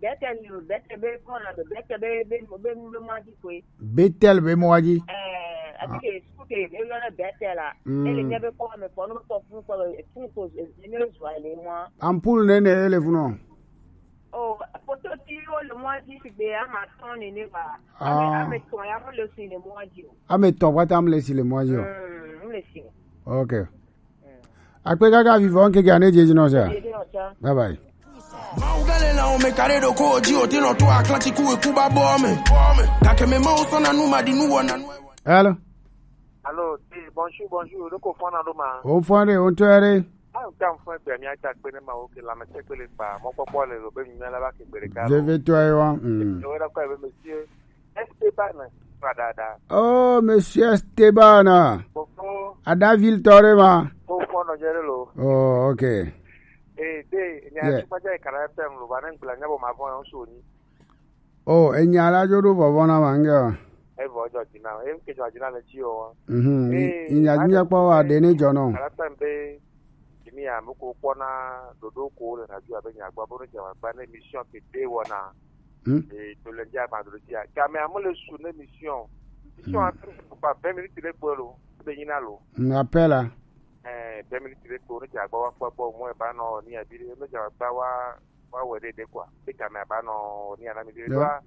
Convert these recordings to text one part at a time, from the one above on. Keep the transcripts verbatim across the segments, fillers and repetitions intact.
Bɛtɛl ni o, Bɛtɛl be kɔna do, Bɛtɛl be, be, be, be mɔa dzi koe. Bɛtɛl be mɔa dzi. Ɛɛ, ati ke suku ke, be yɔna Bɛtɛl la. Mm. Ele nye be kɔ me kɔ, no kɔ fun kɔ, fun ko, e, e, ne zua le mɔa. Ampul ne ne ele fun o. O, poto ti o le mɔa dzi si be ama tɔn ni ne ba. Ame, ah, ame tɔn ya mo le si le mɔa dzi o. Ame tɔn wa ta mo le si le mɔa dzi o. Mm, mo le si. Okay. Akpe kaka vivɔ nkeke ane jeji nɔ sa. Bye bye. Mawu gale la o me kare do ko ji o ti no to Atlantic ku ku ba bo me. Ka ke me ma o so na nu ma di nu wo na nu. Hello. Allô, ti, bonjour, bonjour. Do ko fona do ma. O fone, o to ere. Ah, o ta fo pe mi ata pe ne ma o ke la me se pe le pa. Mo popo le lo be mi la ba ke gbere ka. Je vais toi, wa. Mm. O da ko be monsieur. Esteban, padada. Oh, monsieur Esteban. Bonjour. Ada ville tore ma. Bonjour, no jere lo. Oh, okay. Eh, de, nya, yeah, tukpa jai kara F M lo, ba ne ngula nya bo ma bon so ni. Oh, enya la jo do vovo na ma nge. E vo jo dina, e ke jo dina le ti o. Mhm. Eh, nya nya pa wa de ne jo no. Kara F M be Jimi ya, mo ko kpɔna ɖoɖo ko le radio abe nyagba bo ne dze agba ne émission ke de wɔna. Hmm. E to le dze agba ɖoɖo dzi a. Game amu le su ne émission. Émission, hmm, a pe ko pa vingt minutes le kpo lo. Be nyina lo. Hmm, appel a. Eh, vingt minutes le kpo ne dze agba wa kpɔ kpɔ mo e ba nɔ ni abi ne dze agba wa, wa wɛ ɖe ɖe quoi. Be game a ba nɔ ni ana mi ɖe. Yeah. Ɖo a.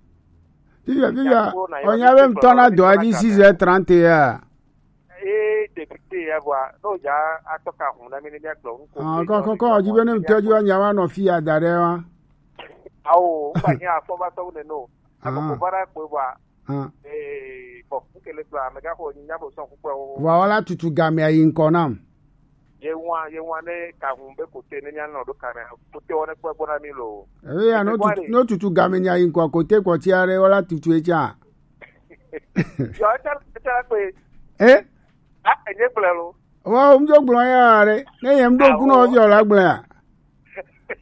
Vivian, Vivian, onya be ŋutɔ na dɔa dzi six heures trente ya. Ee, député ya vɔa, ne wòdza atɔ ka hũu na mí ne míagblɔ nu ko. Ah, kɔ, kɔ, kɔ, dzi be ne ŋutɔ dzi woanya woanɔ fi ya da ɖe wa. Ao, ŋgba nye afɔ va sɔ wo nene o. Ah. Afɔ ko va ɖe akpɔe vɔa. Ah. Ee, bɔn, ŋke le gblɔ, amegã ko nya bo sɔn kukpe o. Vɔa wola tutu gamea yi ŋkɔ nam. Ye wa, ye wa ne ka hũu be kote ne míanɔ ɖo kamea, kote wɔ ne kpɔ gbɔ na mí lo. Eya, no tutu, no tutu gamenya yi ŋkɔ kote kpɔ tsi aɖe wola tutu etsa. Yɔ, etsa, etsa kpe. Eh? A, enye gblẽ lo. Wa, wo dzo gblɔ ya ɖe. Ne yem do kunɔ vi o la gblẽ ya.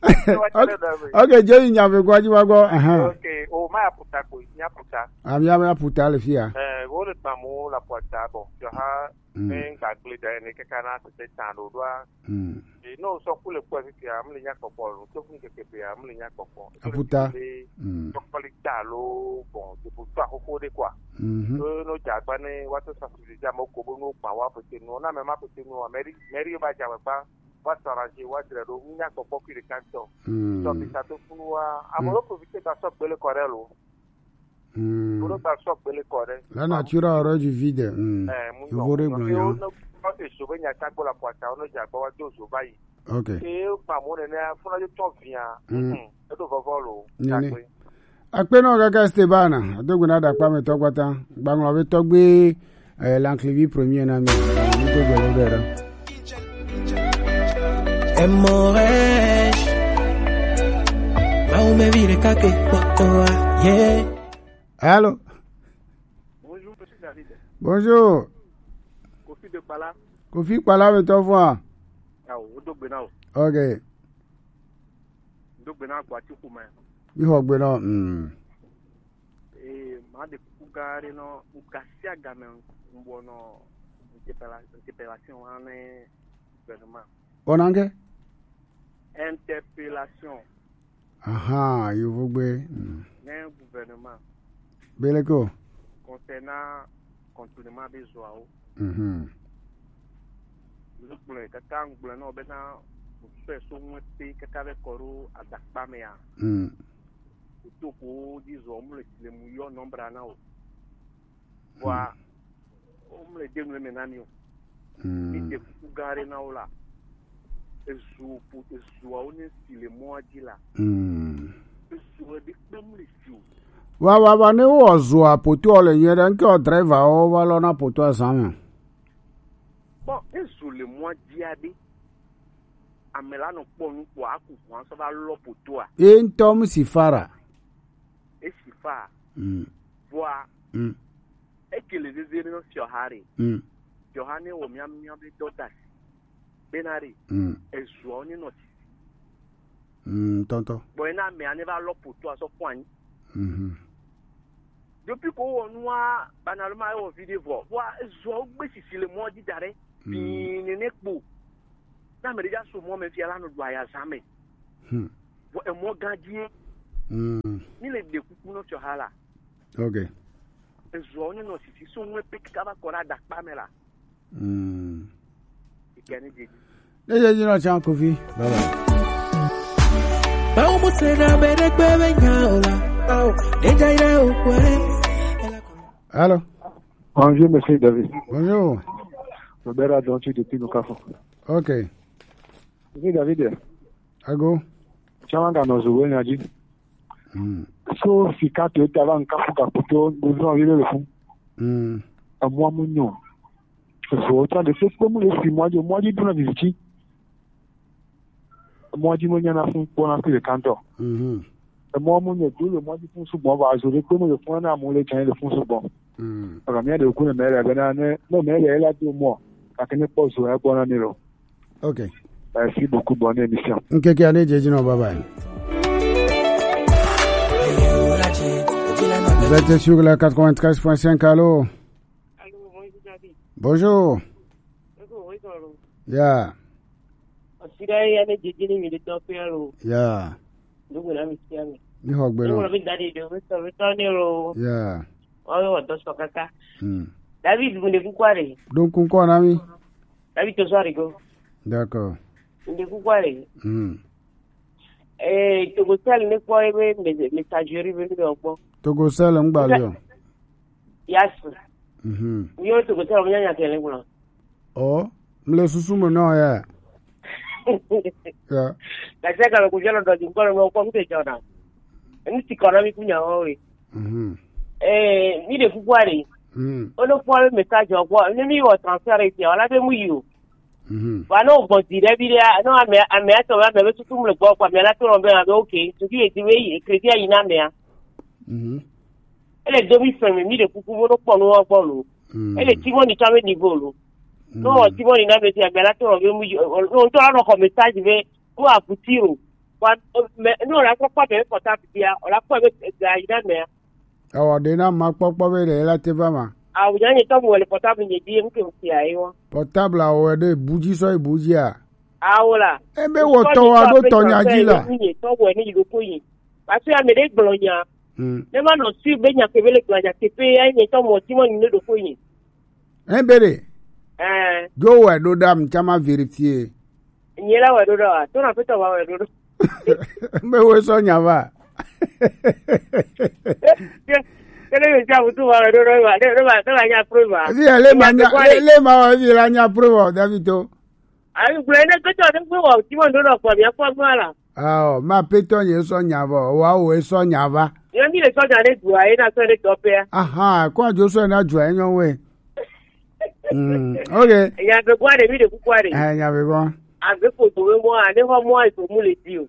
Okay, okay, je yi nya ve gwa ji wa go. Aha. Okay, o ma ya puta ko, nya puta. Ami, ami ya puta le fia. Eh, wo le kpamu la puta bon. Yo ha, mm, ne ngagble da ne kaka na tete tan do do a. Mm. E no so kule kwa fia, am le nya kpɔkpɔ lo. To fun keke pe, am le nya kpɔkpɔ. Aputa. Mm. Kpɔkpɔ li ta lo, bon, de bu ta ko de quoi. Mhm. E no ja gba ne wa to sensibiliser mo ko bo no pa wa pete no, na me ma pete no, mairie, mairie ba ja gba. Wa s'arranger, wa dzra ɖo, ŋu nya kpɔkpɔ kui ɖeka ŋutɔ. Mm. Sɔ mi sa to funu wa. Ame ɖewo profiter gba sɔ gbele kɔ ɖe lo. Mm. Ame ɖewo gba sɔ gbele kɔ ɖe. La nature a horreur du vide. Mm. Eh, mu nyɔ. Yovo ɖe gblɔ nya. Ne kpɔ ezo be nya ta gbɔ la kɔ ata, ne dze agba wa do zo va yi. Ok. Ke ma mo nene funa yo tɔ via. Mm. Mm. Eɖo vɔvɔ lo. Nene. Takpe. Akpe nɔ kaka Esteban, ado gbe na ɖakpa me tɔ kpata. Gbaŋlɔ be tɔgbe, eh, Lanklivi premier na mi. Mi do gbe ɖe ɖe. Emoresh. Mawu me vi ɖeka ke kpɔtɔa. Yeah. Allô? Bonjour, monsieur David. Bonjour. Kofi de Kpala. Kofi Kpala me tɔ fua. Awo, wo do gbe na o. Ok. Do gbe na gbɔ ati xɔme. Mi xɔ gbe nɔ, mm. Ee, ma ɖe kuku gã aɖe nɔ, ŋkasi agame ŋbɔ nɔ interpella-, interpellation wa ne gouvernement. Ona ŋke? Interpellation. Aha, yovogbe. Mm. Ne gouvernement. Beleko. Concernant contournement be zoawo. Mhm. Ŋgblɔe kaka ŋgblɔe nɔ bena ŋsɔe so ŋue pe kaka be kɔ ɖo adakpa mea. Mm. Kotoko dzi zɔ mu le le mu yɔ nɔmbra na o. Vɔa, mm, wo mu le de nu eme na mi o. Mm. Mi de kuku gã aɖe na wo la. Ezu po-, ezuawo ne si le mɔa dzi la. Mm. Ezu ɖe kpe mu le si o. Va, va, va, ne wowɔ zua potoɔ le nyuie ɖe, ŋke wɔ driverwo va lɔna potoa zã me. Bon, ezu le mɔa dzia ɖe, ame la nɔ kpɔ nu kpɔ aku ʋua sɔ va lɔ potoa. Ye ŋutɔ mu si fa ɖa. Esi fa. Mm. Vɔa. Mm. Eke le zeze ne fiɔha ɖe. Mm. Fiɔha ne wɔ mia, mia be dɔ da si. Bena ɖe. Mm. Ezuawo ne nɔ sisi. Mm, tɔntɔ. Bɔn ena amea ne va lɔ potoa sɔ kpɔ anyi. Mhm. Depuis ko wɔ nua, banalema ewɔ vi ɖe vɔ. Vɔa ezuawo gbe sisi le mɔ dzi da ɖe. Mm. Bii nene kpo. Ne ame ɖe dza so mɔ me fia la nɔ ɖu aya zã me. Hmm. Vɔ emɔ gã dzie. Mm. Mi le ɖe kuku nɔ fiɔ ha la. Ok. Ezuɔ ne nɔ sisi so ŋue pe kaka va kɔ ɖe adakpa me la. Mm. Ike ne dzedzi. Ne dzedzi nɔ tsan kofi. Bye bye. Bawo mo se na be ɖe gbe be nya o la. Bawo ne dza yi ɖe o kɔe. Allô? Bonjour, monsieur David. Bonjour. Robert Adonti depuis Nukafo. Ok. Monsieur David. Ago. Tsama ga nɔ zo we nya dzi. Mm. So sika to ta va nka fu ka kuto do zo vi le fu. Mm. Amwa mu nyo. So ta de se ko mu le si mwa jo mwa ji duna viziti. Mwa ji mo nya na fu ko na ku le kanto. Mhm. Emɔ mu nye do le mɔ dzi fún sugbɔ va zo ɖe kpe mu le fún na mu le tsã le fún sugbɔ. Mm. Aga mía ɖe ku ne mɛ le bena ne ne mɛ le la do mɔ kake ne kpɔ zo ya gbɔ na mi lo. Ok. Merci beaucoup, bonne émission. Nkeke ane jeji no, bye bye. Vous êtes sur la quatre-vingt-treize point cinq, allô? Allô, bonjour David. Bonjour. Bonjour, oui, bonjour. Yeah. Osira ya ne jeje ni mi de to pe ro. Yeah. Ndugu na mi sia mi. Ni ho gbe no. Ni mo bi dadi do mi so mi to ni ro. Yeah. Wa wa do so kaka. Hmm. David mo de ku kware. Don kun ko na mi. David to so ari go. D'accord. Mo de ku kware. Hmm. Eh, to go sel ne ko e be messagerie be ni do po. To go sel ngba le o. Yes. Mhm. Yo to go sel mo nya nya kele ngba. Oh, mle susu me no ya. Ya. Ka se ka ko jalo do jingolo mo ko mte jona. Ni ti kono mi kunya o we. Mhm. Eh, mi de kukwari. Mm. Ono kwa message o kwa, ni mi wo transfer ti wala be mu yo. Mhm. Wa no go di de bi de, no ame ame to wa me susu mle gbo kwa me la to be, okay. To bi e di we e credit ayi na me. Mhm. Ele do mi fɛn mi, mi de kuku bo no kpɔ no wa gbɔ lo. Mm. Ele ti mo ni tsa me ni bo lo. No, mm, ti mo ni na be ti a bela to be mu yo. No to no ko message be ko a kutiro. Kwa me no la ko pa be ko ta bia, o la ko be ga ina me. Awa de na ma kpɔkpɔ be de la te ba ma. A wo nya ni to mo le portable ni di mu ke ti ayi wa. Portable a wo de buji so buji a. Awo la. E be wo to wa do to nya ji la. Ni to wo ni do ko yi. Parce que ame ɖe gblɔ nya. Hmm. Ne ma nɔ si be nya kebe le gblɔ nya teƒe ya nye tɔ mɔ ti mɔ ni ne ɖo ko yi. Hein, bere? Eh. Jo wɛ ɖo ɖa mi tsa ma vérifier. Nye la wɛ ɖo ɖa wa, to na pe tɔ wa wɛ ɖo ɖo. Be wo sɔ nya va. Kele mi tsa butu wa wɛ ɖo ɖo wa, ne ne ma ne ma nya preuve wa. Evi le ma nya, le ma wa evi la nya preuve wa, David to. Ayi gblɔe ne ketɔ ne gbe wɔ ti mo ndo nɔ kpɔ mia kpɔ gbɔ la. Ao, ma petɔ nye sɔ nya vɔ, wa wo sɔ nya va. Ye mi le sɔ nya ne dua ye na sɔ ne tɔ pea. Aha, ko ajo sɔ na dua ye nyɔ we. Mm, okay. Nya be gwa de mi de kukua de. Eh, nya be gwa. Abe ko do we mo a ne ho mo a so mu le di o.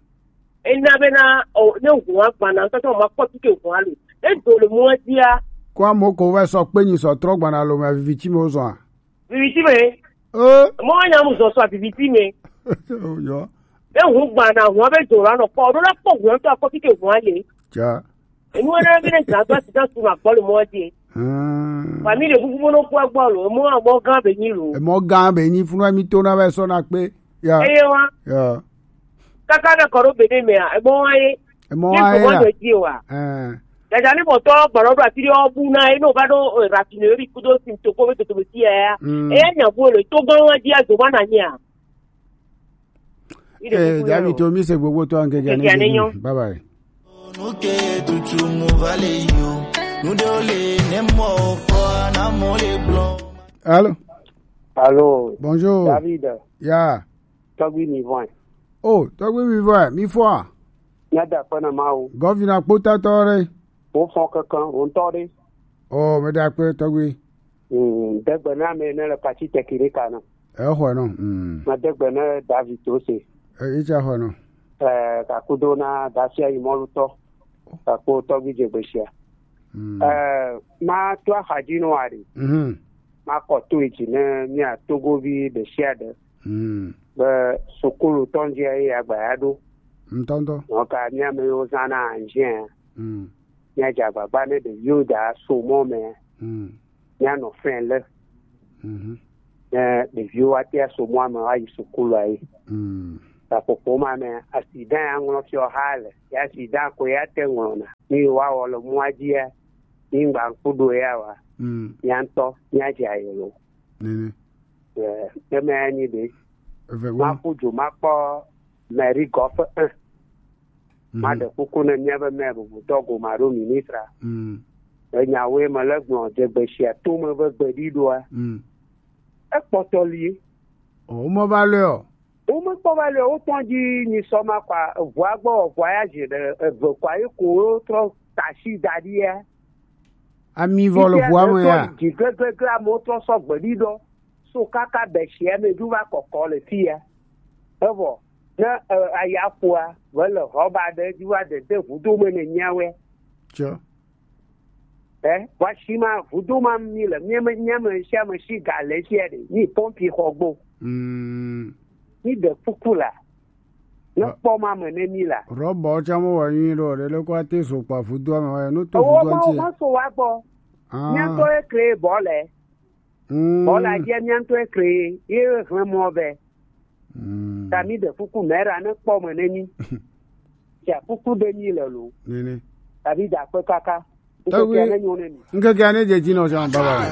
E na be na o ne hu agba na tɔ tɔ ma kpɔ ti ke hu alu. E do le mo dia. Ko amo ko we sɔ pe nyi sɔ trɔ gba na lo ma vivi ti mo zɔ a. Viviti me. Eh? Mo nya mu zo so viviti me. Yo. E hu gba na hu be do ra no po. Do na po hu to ko ti ke hu ale. Ja. E nu na be na ja to ti ta su ma po le mo di. Hmm. Family bubu mo no po agbo lo. Mo mo gan be ni lo. E mo gan be ni funu mi to na be so na pe. Ya. E wa. Ya. Kaka be koro be de me a. E mo wa ye. E mo wa ye. Ko do di wa. Eh. Daja ni mo to gboro do ati o bu na e no ba do raffinerie kudo sim to ko be to to ti ya. Mm. E nya bo le to gan wa di a zo ba na nya. Eh, David to mi se gbogbo to an ke gani. Bye bye. Nuke tutu mu vale yo. Nude ole ne mo ko na mo le blo. Allô? Allô? Bonjour. David. Ya. Tɔgbi mi vɔn. Oh, tɔgbi mi vɔn, mi fɔ. Nya da kpɔ na ma o. Gɔvina kpota tɔ re. O fɔ kankan, o ntɔ re. Oh, me da kpɔ tɔgbi. Mm, degbe na me ne le pati tekiri kana. E xɔ no. Mm. Ma degbe na David to se. E itsa xɔ no. Eh, ka kudo na dasia yi mɔlutɔ. Ka ko tɔgbi je gbesia. Mm. Eh, ma to axadzi no ari. Mhm. Ma kɔ to edzi ne mia Togovi ɖe sia ɖe. Mm. Be sukulu tɔndia ye agba ya ɖo. Ŋutɔŋutɔ. Nɔ ka mia me yo zã na anjia. Mm. Mia dze agbagba ne ɖeviwo da so mɔ me. Mm. Mia nɔ fɛn le. Mhm. Ne ɖeviwo wa tia so mɔ me wa yi sukulu ayi. Mm. Aƒoƒo ma me accident ya ŋlɔ fiɔ ha le. Ya accident ko ya te ŋlɔna. Ni wa wɔ le mɔa dzi ya. Ni ŋgba ŋku ɖo ya wa. Mm. Mía ŋutɔ mía dze ayi lo. Nene. Eh, eme ya nyi ɖe. Eve wo. Maku dzo makpɔ mairie gɔƒe un. Mhm. Maɖe kuku ne míaƒe maire bubutɔ gome alo ministre. Mm. Enyawoe mele gblɔ dze gbesia tome be gbeɖiɖoa. Mm. Ekpɔtɔ lie. O, womeva lɔe o. Womekpɔ va le wo tɔn dzi nyi sɔ ma kɔa, eʋua gbɔ, eʋua ya zi ɖe eve kɔa, ye ko wo trɔ tasi da ɖi ya. Ami vɔ le ʋua me ya. Dzi gleglegle amewo trɔ sɔ gbe ɖi ɖɔ. So kaka be sia me dzo va kɔkɔ le fi ya. Evɔ, ne, e, aya ƒoa, ve le rɔba ɖe dzi va dede ʋudo me ne nyawe. Tsɔ. Eh, wa si ma, vudo ma mi le, mi me, mi me sia me si ga le sia ɖe, mi pompi xɔ gbɔ. Mm. Mi de kuku la. Ne kpɔ ma me ne mi la. Rɔbɔ tsã mo wa nyui ɖo, ɖe le kɔ ate so kpa vudo me wa, no to vudo ma, ŋti. Ma so wa gbɔ. Ah. Mia tɔ e kre bɔ le. Mm. Bɔ la dze mia tɔ e kre, ye hlẽ mɔ be. Mm. Tami de kuku mera ne kpɔ me ne mi. Tia kuku de mi le lo. Nene. Tabi da kpe kaka. Ewe. Ŋkeke ne nyo ne mi. Ŋkeke ne dze dzi nɔ sɔn baba.